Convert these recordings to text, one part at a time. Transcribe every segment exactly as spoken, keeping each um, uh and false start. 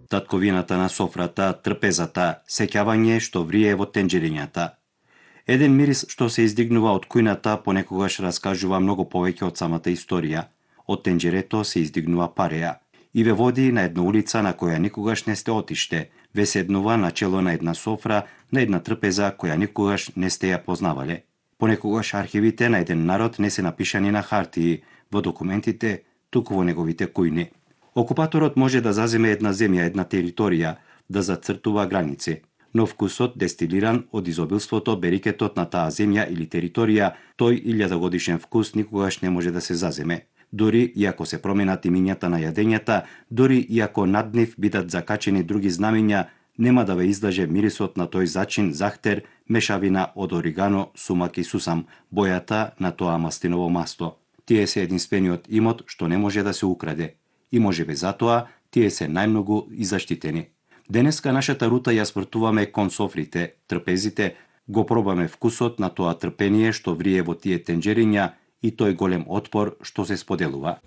татковината на софрата, трпезата, сеќавање што врие во тенџерињата. Еден мирис што се издигнува од кујната понекогаш раскажува многу повеќе од самата историја. Од тенџерето се издигнува пареја и ве води на една улица на која никогаш не сте отиште, ве седнува на чело на една софра, на една трпеза која никогаш не сте ја познавале. Понекогаш архивите на еден народ не се напишани на хартии, во документите, туку во неговите кујни. Окупаторот може да заземе една земја, една територија, да зацртува граници, но вкусот дестилиран од изобилството, берикетот на таа земја или територија, тој илјадогодишен вкус никогаш не може да се заземе. Дури и ако се променат имињата на јадењата, дури и ако над нив бидат закачени други знамиња, нема да ве излаже мирисот на тој зачин захтер, мешавина од оригано, сумак и сусам, бојата на тоа мастиново масто. Тие се единствениот имот што не може да се украде. И можебе затоа тие се најмногу и заштитени. Денеска нашата рута ја спртуваме кон софрите, трпезите, го пробаме вкусот на тоа трпение што врие во тие тенџериња и тој голем отпор што се споделува.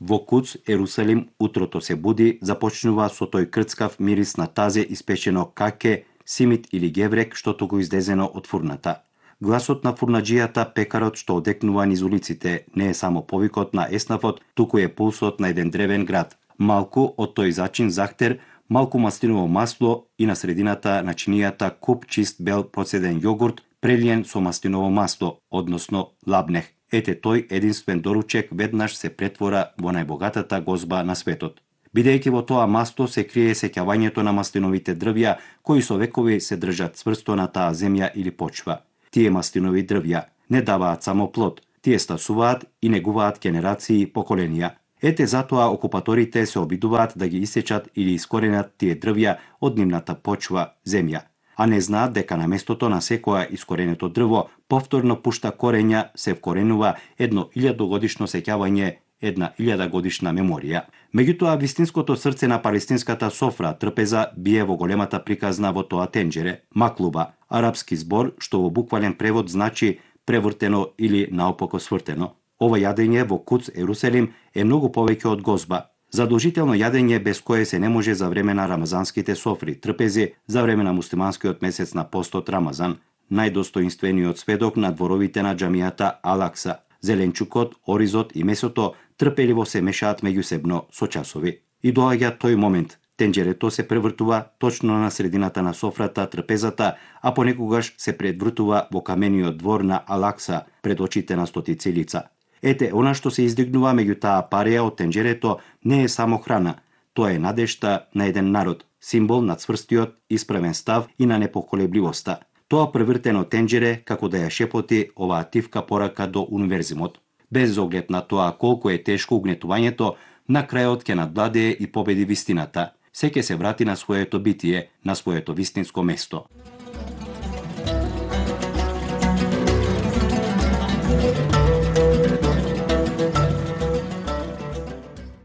Во Куц, Ерусалим, утрото се буди, започнува со тој крцкав мирис на тазе испечено каке, симит или геврек што го издезено од фурната. Гласот на фурнаџијата, пекарот што одекнува низ улиците, не е само повикот на еснафот, туку е пулсот на еден древен град. Малку од тој зачин захтер, малку мастиново масло и на средината на чинијата куп чист бел процеден јогурт, прелиен со мастиново масло, односно лабнех. Ете тој единствен доручек веднаш се претвора во најбогатата гозба на светот. Бидејќи во тоа масло се крие сеќавањето на мастиновите дрвја, кои со векови се држат цврсто на таа земја или почва. Тие мастинови дрвја не даваат само плод, тие стасуваат и негуваат генерации и поколенија. Ете затоа окупаторите се обидуваат да ги исечат или искоренат тие дрвја од нивната почва, земја, а не знаат дека на местото на секоја искоренето дрво повторно пушта корења, се вкоренува едно илјадогодишно сеќавање, една илјада годишна меморија. Меѓутоа, вистинското срце на палестинската софра, трпеза, бие во големата приказна во тоа тенџере, маклуба, арапски збор што во буквален превод значи превртено или наопако свртено. Ова јадење во Куц, Ерусалим, е многу повеќе од гозба. Задолжително јадење без кое се не може за време на рамазанските софри, трпези, за време на муслиманскиот месец на постот Рамазан, најдостоинствениот сведок на дворовите на џамијата Алакса. Зеленчукот, оризот и месото трпеливо се мешаат меѓусебно со часови. И доаѓа тој момент. Тенџерето се превртува точно на средината на софрата, трпезата, а понекогаш се предвртува во камениот двор на Алакса пред очите на стотици лица. Ете, она што се издигнува меѓу таа пареја од тенџерето не е само храна. Тоа е надежта на еден народ, символ на цврстиот, исправен став и на непоколебливоста. Тоа превртено тенџере како да ја шепоти оваа тивка порака до универзимот. Без оглед на тоа колку е тешко угнетувањето, на крајот ќе надвладее и победи вистината. Се ќе се врати на своето битие, на своето вистинско место.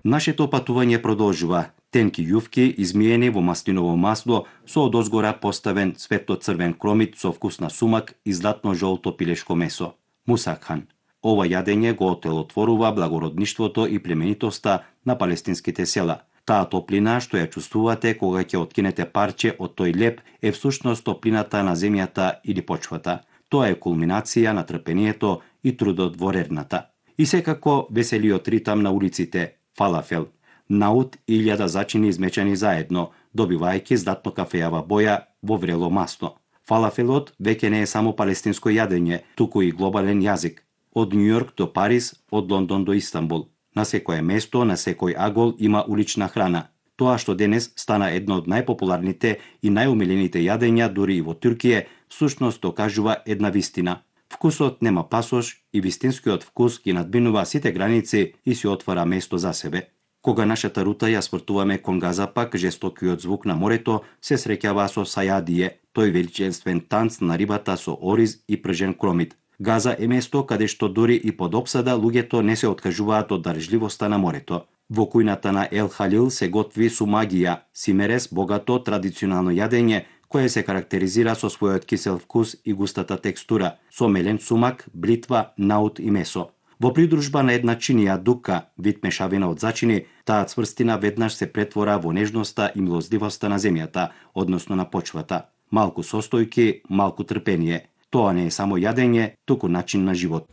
Нашето патување продолжува. Тенки јувки, измиени во мастиново масло, со одозгора поставен светло-црвен кромит со вкус на сумак и златно-жолто пилешко месо. Мусакхан. Ова јадење го отелотворува благородништвото и племенитоста на палестинските села. Таа топлина што ја чувствувате кога ќе откинете парче од тој леп е всушност топлината на земјата или почвата. Тоа е кулминација на трпението и трудот во рерната. И секако веселиот ритам на улиците, фалафел. Наут и илјада зачини измечани заедно, добивајќи златно кафејава боја во врело масло. Фалафелот веќе не е само палестинско јадење, туку и глобален јазик. Од Њујорк до Париз, од Лондон до Истанбул. На секое место, на секој агол има улична храна. Тоа што денес стана едно од најпопуларните и најумилените јадења дури и во Туркија, всушност докажува една вистина. Вкусот нема пасош и вистинскиот вкус ги надминува сите граници и си отвара место за себе. Кога нашата рута ја спртуваме кон Газапак, жестокиот звук на морето се среќава со сајадие, тој величествен танц на рибата со ориз и пржен кромит. Газа е место каде што дури и под опсада луѓето не се откажуваат од дарежливоста на морето. Во кујната на Ел Халил се готви сумагија, симерес, богато традиционално јадење кое се карактеризира со својот кисел вкус и густата текстура, со мелен сумак, блитва, наут и месо. Во придружба на една чинија дука, вид мешавина од зачини, таа цврстина веднаш се претвора во нежноста и милоздивоста на земјата, односно на почвата. Малку состојки, малку трпение. Тоа не е само јадење, туку начин на живот.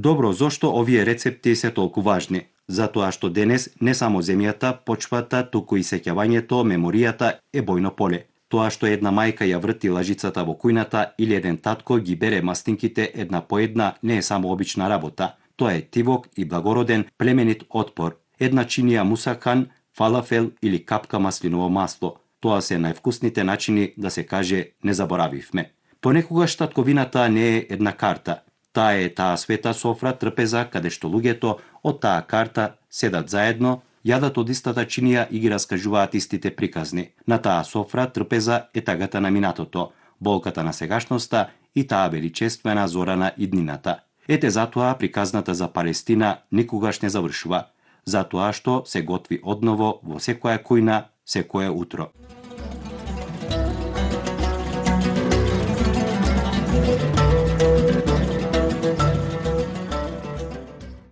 Добро, зошто овие рецепти се толку важни? Затоа што денес не само земјата, почвата, туку и сеќавањето, меморијата е бојно поле. Тоа што една мајка ја врти лажицата во кујната или еден татко ги бере мастинките една по една не е само обична работа. Тоа е тивок и благороден племенит отпор. Една чинија мусахан, фалафел или капка маслиново масло. Тоа се највкусните начини да се каже не заборавивме. Понекогаш татковината не е една карта. Таа е таа света софра трпеза каде што луѓето од таа карта седат заедно, јадат од истата чинија и ги раскажуваат истите приказни. На таа софра трпеза е тагата на минатото, болката на сегашноста и таа величествена зора на иднината. Ете затоа приказната за Палестина никогаш не завршува, затоа што се готви одново во секоја кујна, секое утро.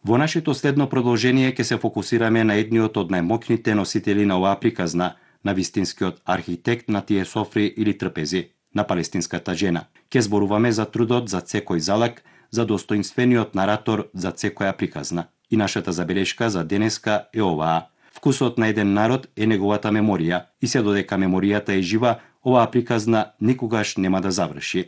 Во нашето следно продолжение ќе се фокусираме на едниот од најмокните носители на оваа приказна, на вистинскиот архитект на тие софри или трпези, на палестинската жена. Ќе зборуваме за трудот за секој залак, за достоинствениот наратор за секоја приказна. И нашата забелешка за денеска е оваа. Вкусот на еден народ е неговата меморија и се додека меморијата е жива, оваа приказна никогаш нема да заврши.